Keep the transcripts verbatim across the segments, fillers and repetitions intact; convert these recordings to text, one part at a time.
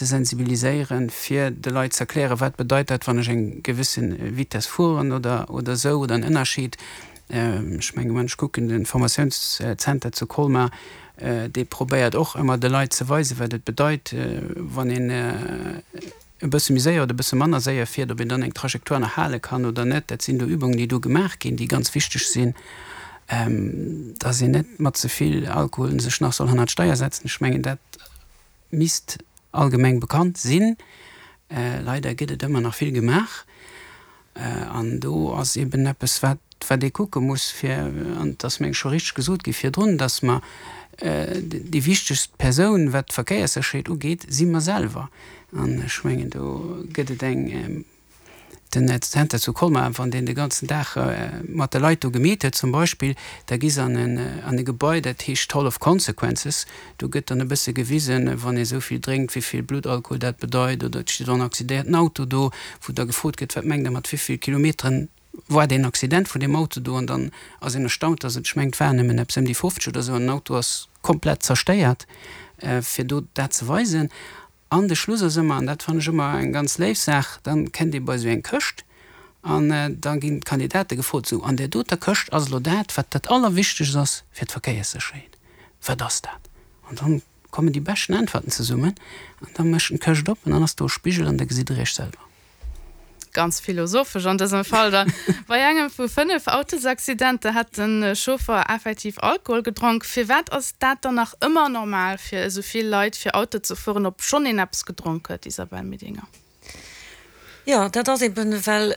ze sensibiliséieren, fir de Leit ze erklären, wat bedeit dat, wann ech eng gewësse Vitess fueren oder, oder esou, oder en Ënnerscheed. Ech mengen, wann ech kucken, de Formatiounszenter zu Colmar, dee probéiert och ëmmer de Leit ze weisen, wat et bedeit, wann een e bësse méi séier oder e bësse manner séier fiert, ob een dann eng Trajectoire nach hale kann oder net. Dat sinn do Übungen, déi do gemaach ginn, déi ganz wichteg sinn, dass een net mat ze vill Alkohol sech nach soll hannert d'Steier setzen. Ech mengen, dat misst allgemeng bekannt sinn. Leider gëtt et ëmmer nach vill gemaach. An do ass eben eppes, wat, wat ee kucke muss, fir, an et ass, meng ech, scho richteg gesot gi virdrun, dass mer déi wichtegst Persoun, wat d'Verkéierssécherheet ugeet, si mer selwer. An ech mengen, do gëtt et eng, den Zenter zu Colmar, wann deen de ganzen Dag mat de Leit do gemeet huet zum Beispill, da gi se an en, an e Gebai, dat heescht Hall of Consequences. Do gëtt dann e bësse gewisen, wann ee sou vill drénkt, wéi vill Bluttalkohol dat bedeit, oder et steet och en accidéierten Auto do, wou da gefrot gëtt, wat mengt Der, mat wéi vill Kilometeren war deen Accident vun deem Auto do? An dann ass een erstaunt, dass et, ech mengen, et waren nëmmen eppes ëm déi fofzeg oder sou, an den Auto ass komplett zerstéiert, fir do dat ze weisen. An de Schluss ass ëmmer, an dat fannen ech ëmmer eng ganz léif Saach, dann kënnt ee bei esou eng Këscht an da ginn d'Kandidate gefrot, Sou, an där doter Këscht ass elo dat, wat dat Allerwichtegst ass fir d'Verkéierssécherheet. Wat ass dat? An dann kommen déi beschten Äntwerten zesummen an da mécht en d'Këscht op an dann ass do e Spigel an da gesitt Der Iech selwer. Ganz philosophesch an dësem Fall dann. Bei engem vu fënnef Autosaccidenter hätt de Chauffer effektiv Alkohol gedronk. Firwat ass dat dann nach ëmmer normal fir esou vill Leit fir Auto ze fueren, obschonn een eppes gedronk huet, Isabelle Medinger? Jo, dat ass eben, well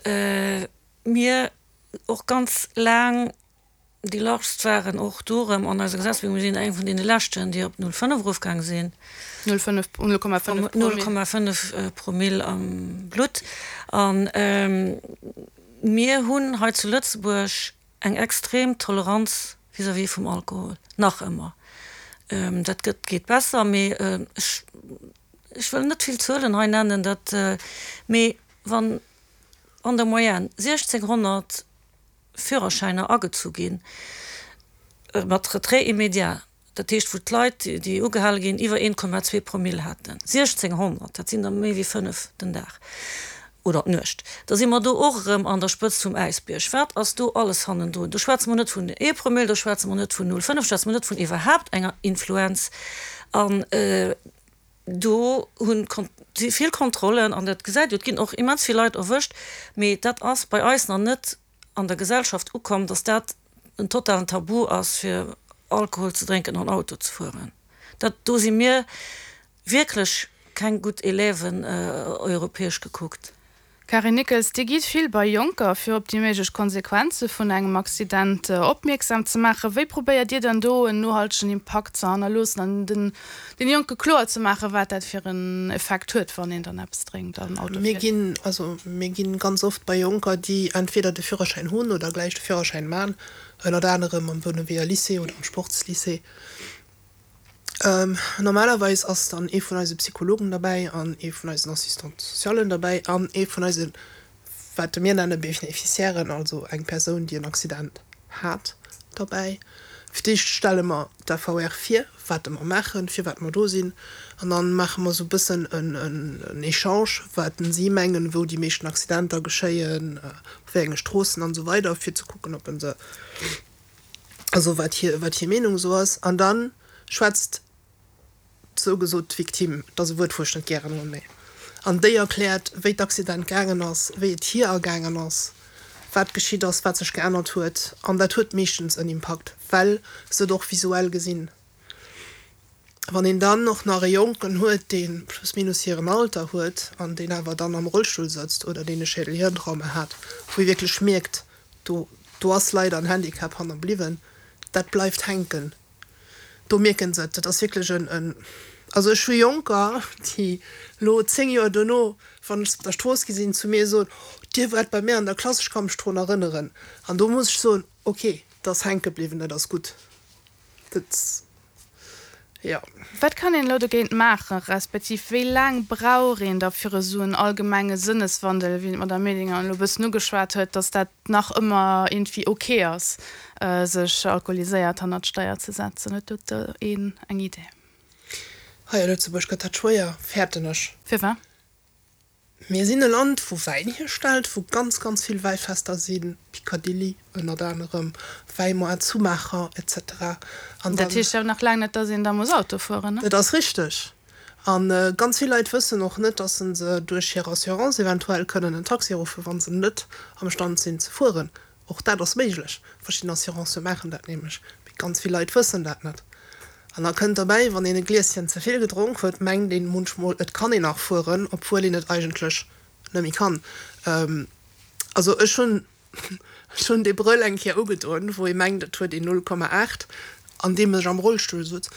mir och ganz laang Déi largst waren och do erëm an eiser Gesetzgebung. Mir sinn eng vun deene leschten, déi op null fënnef erofgaang sinn. Null fënnef, null Komma fënnef Promille. Null Komma fënnef Promille am Blutt. A mir hunn hei zu Lëtzebuerg eng extrem Toleranz vis-à-vis vum Alkohol, nach ëmmer. Dat gëtt, geet besser, mee ech, ech wëll net vill Zuelen hei nennen, dat, mee wann an der Moyenne siechzénghonnert Führerschäiner agezu ginn, mat Retrait immédiat, dat heescht wou d'Leit, déi ugehale ginn, iwwer een Komma zwee Promille haten, siechzénghonnert, dat sinn der méi wéi fënnef den Dag oder d'Nuecht, da si mer do och erëm an der Spëtzt vum Äisbierg. Wat ass do alles hannendrun? Do schwätze mer net vun ee Promille, do schwätze mer net vun null fënnef, schwätze mer net vun iwwerhaapt enger Influenz. An do hunn si vill Kontrollen an dat gesäit jo, et ginn och immens vill Leit erwëscht, mee dat ass bei eis nach net an der Gesellschaft ukomm, dass dat en totalen Tabu ass fir Alkohol ze drénken an Auto ze fueren. Dat, do si mir wierklech keng gutt Élèven europäesch gekuckt. Carine Nickels, Dir gitt vill bei Jonker, fir op déi méiglech Konsequenze vun engem Accident opmierksam ze maachen. Wéi probéiert Dir dann do en nohaltegen Impakt ze hannerloossen an den Jonke kloer ze maachen, wat dat fir en Effekt huet, wann een dann eppes drénkt an Auto Mir fiert? ginn, also mir ginn ganz oft bei Jonker, déi entweder de Führerschäin hunn oder gläich de Führerschäin man, ënnert anerem am Bounewéer Lycée oder am Sportslycée. Normalerweis ass dann ee vun eise Psychologen derbäi an ee vun eisen Assistante socialen derbäi an ee vun eise, wat mir nenne Bénéficiairen, also eng Persoun, déi en Accident hat, derbäi. Fir d'éischt stelle mer d'A V R vir, wat mer maachen, firwat mer do sinn, an dann maache mer esou e bëssen en Echange, wat si mengen, wou déi meeschten Accidenter geschéien, op wéi enge Stroossen an esou weider, fir ze kucken, ob se, also wat hir, wat hir Meenung esou ass. An dann schwätzt sou gesot d'Victime, dat ass e Wuert, wou ech net gären hunn, mee an déi erkläert, wéi d'Accident gaangen ass, wéi et hir ergaangen ass, wat geschitt ass, wat sech geännert huet. An dat huet meeschtens en Impakt, well se et och visuell gesinn. Wann een dann och nach e Jonken huet, dee plus minus hiren Alter huet an deen awer dann am Rollstull sëtzt oder deen e Schädel-Hirn-Trauma hat, wou ee wierklech mierkt, do do ass leider en Handicap hannerbliwwen, dat bleift hänken. Do mierken se et. Dat ass wierklech en, en, also ech hu Jonker, déi elo zéng Joer dono, wann ech se op der Strooss gesinn, zu mir soen, Dir waart bei mir an der Klass, ech ka mech drun erënneren. An do muss ech soen, ok, dat ass hänke bliwwen, dat ass gutt. Dat, jo. Wat kann een elo dogéint maachen, respektiv wéi laang brauch een da fir esou en allgemenge Sënneswandel, wéi d'Madame Medinger elo e bëssen ugeschwat huet, dass dat nach ëmmer iergendwéi ok ass, sech alkoholiséiert hannert d'Steier ze setzen? Huet do een eng Idee? Hei a Lëtzebuerg gëtt dat schwéier, fäerten ech. Firwat? Mir sinn e Land, wou Wäin hierstellt, wou ganz, ganz vill Wäifester sinn, Picadilly ënnert anerem, Wäimoart zu Maacher, et cetera. An dat heescht jo nach laang net, dass een da muss Auto fueren, ne? Dat ass richteg. A ganz vill Leit wëssen och net, dass se duerch hir Assurance eventuell kënnen en Taxi ruffen, wa se net am Stand sinn ze fueren. Och dat ass méiglech. Verschidden Assurancë maachen dat nämlech. Mee ganz vill Leit wëssen dat net. An da kënnt derbäi, wann een e Glieschen ze vill gedronk huet, mengt een munchmol, et kann een nach fueren, obwuel een et eigentlech net méi kann. Also ech hunn, ech hunn dee Brëll eng Kéier ugedoen, wou ee mengt, et huet een null Komma aacht, an deem ech am Rollstull sutz.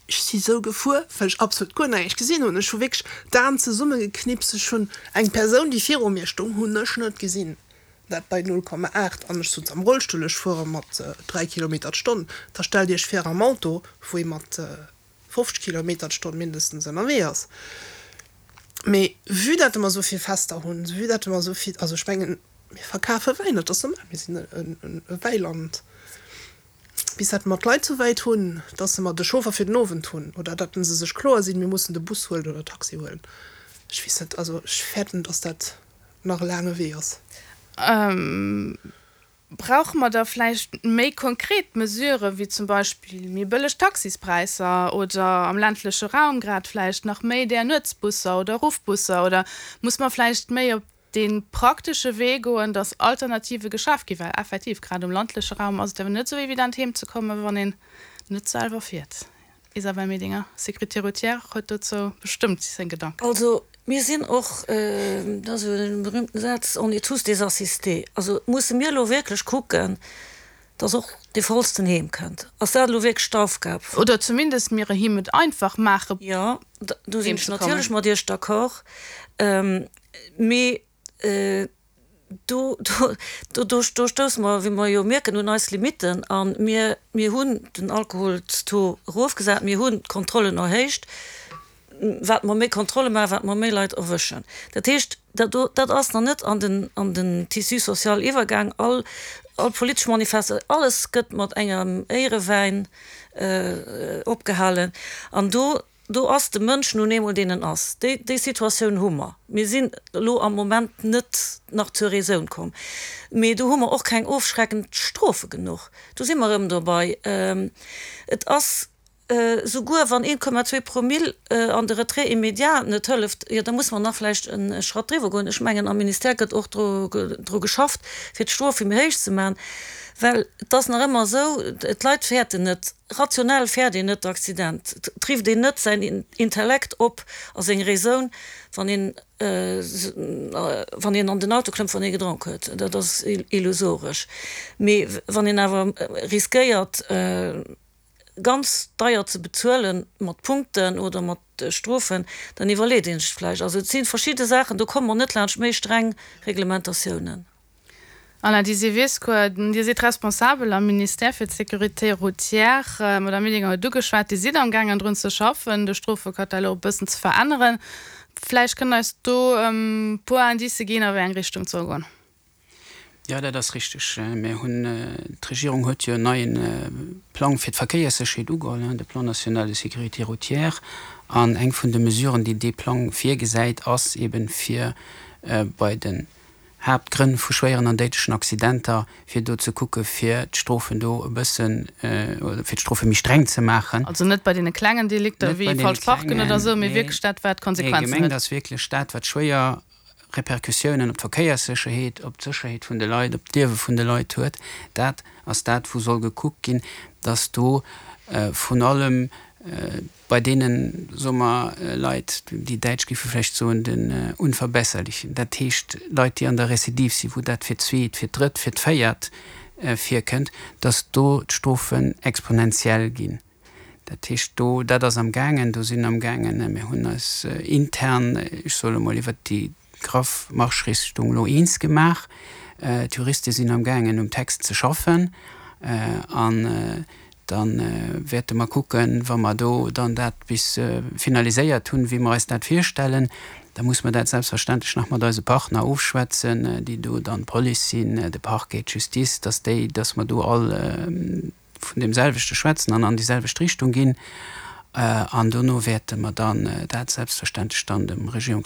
Ech si sou gefuer, well ech absolut guer näischt gesinn hunn. Ech hu wierklech d'Aen zesummegeknipst. Ech hunn eng Persoun, déi viru mir stoung, hunn ech net gesinn. Dat bei null Komma aacht. An ech sutz am Rollstull, ech fuere mat dräi Kilometer d'Stonn. Da stellt Iech vir am Auto, wou ee mat fofzeg Kilometer d'Stonn mindestens ënnerwee ass. Mee vue dat mer esou vill Fester hunn, vue dat mer esou vill, also ech mengen, mir verkafe Wäin, dat ass normal, mir sinn e Wäiland. Bis dat mer d'Leit sou wäit hunn, dass se mer de Chauffer fir den Owend hunn oder datt se sech kloer sinn, mir mussen de Bus huelen oder Taxi huelen. Ech weess net, also ech fäerten, dass dat nach e laange Wee ass. Brauche mer da vläicht méi konkret Mesurë wéi zum Beispill méi bëlleg Taxispräisser oder am ländleche Raum grad vläicht nach méi där Nuetsbusser oder Ruffbusser? Oder muss mer vläicht méi op dee praktesche Wee goen, dass Alternative geschaf ginn? Well effektiv, grad um landleche Raum ass et awer net esou evident heem ze kommen, wann een net selwer fiert. Isabelle Medinger, Sécurité routière, huet dozou bestëmmt seng Gedanken. Also mir sinn och, dat ass jo dee berühmten Saz, on est tous des assistés. Also musse mir elo wierklech kucken, dass och dee Vollsten heem kënnt. Ass dat elo wierklech d'Aufgab vun. Oder zumindest mir him et einfach maachen, Jo, do sinn ech natierlech mat Iech d'accord. Mee do, do, do stousse mer, wéi mer jo mierken, un eis Limitten. A mir, mir hunn den Alkoholstaux erofgesat, mir hunn d'Kontrollen erhéicht. Wat mer méi Kontrolle maachen, wat mer méi Leit erwëschen. Dat heescht, dat do, dat ass nach net an den, an den Tissu social iwwergaang. All, all politesch Manifeste, alles gëtt mat engem Éierewäin opgehalen. An do, do ass de Mënsch nun eemol deen en ass. Déi, déi Situatioun hu mer. Mir sinn elo am Moment net nach zur Raison komm. Mee do hu mer och keng ofschreckend Strofe genuch. Do si mer erëm dobei. Et ass souguer, wann een Komma zwee Promille an de Retrait immédiat net hëlleft, jo da musse mer nach vläicht e Schratt driwwer goen. Ech mengen, am Ministère gëtt och dru geschafft, fir d'Strofe méi héich ze maachen, well et ass nach ëmmer esou, d'Leit fäerten net, rationell fäert een net d'Accident, et rifft een net säin Intellekt op a seng Raison, wann een wann een an den Auto klëmmt, wann ee gedronk huet. Dat ass illusoresch. Mee wann een awer riskéiert, ganz deier ze bezuelen, mat Punkten oder mat Strofen, dann iwwerleet een sech et vläicht. Also et si verschidde Saachen, do komme mer net laanscht méi streng Reglementatiounen. Alain Disiviscua, Dir sidd responsabel am Ministère fir d'Sécurité routière. D'Madame Medinger huet ugeschwat, Dir sidd amgaangen drun ze schaffen, de Strofekatalog e bëssen ze veränneren. Vläicht kënnt Der eis do e puer Indicë ginn, a wéi eng Richtung et soll goen. Jo, dat ass richteg. Mir hunn, d'Regierung huet jo en neie Plang fir d'Verkéierssécherheet ugeholl, de Plan national de sécurité routière. An eng vun de Mesuren, déi dee Plang virgesäit, ass eben, fir bei den Haaptgrënn vu schwéieren an déidlechen Accidenter, fir do ze kucke fir d'Strofen do e bëssen, oder fir d'Strofe méi streng ze maachen. Also net bei deene klengen Delikter wéi falsch parken oder esou, mee wierklech dat, wat Konsequenzen huet. Nee, gemengt ass wierklech dat, wat schwéier Repercussiounen op d'Verkéierssécherheet, op d'Sécherheet vun de Leit, op d'Liewe vun de Leit huet, dat ass dat, wou soll gekuckt ginn, dass do vrun allem bei deenen, soe mer, Leit, déi Däitsch géife vläicht soen, den Unverbesserlichen, dat heescht Leit, déi an der Recidive sinn, wou dat fir d'zweet, fir d'drëtt, fir d'véiert virkënnt, dass do d'Strofen exponentiell ginn. Dat heescht, do, dat ass amgaangen, do sinn amgaangen, mir hunn eis intern, ech soe lo mol, iwwert déi graff Marschrichtung elo eens gemaach. D'Juriste sinn amgaangen um Text ze schaffen an da wäerte mer kucken, wa mer do dann dat bis finaliséiert hunn, wéi mer eis dat virstellen, da muss mer dat selbstverständlech nach mat eise Partner ofschwätzen, déi do dann d'Police sinn, de Parquet, d'Justice, dass déi, dass mer do all vun deem selwechte schwätzen an an déi selwecht Richtung ginn. An dono wäerte mer dann dat selbstverständlech dann dem Regierungsrot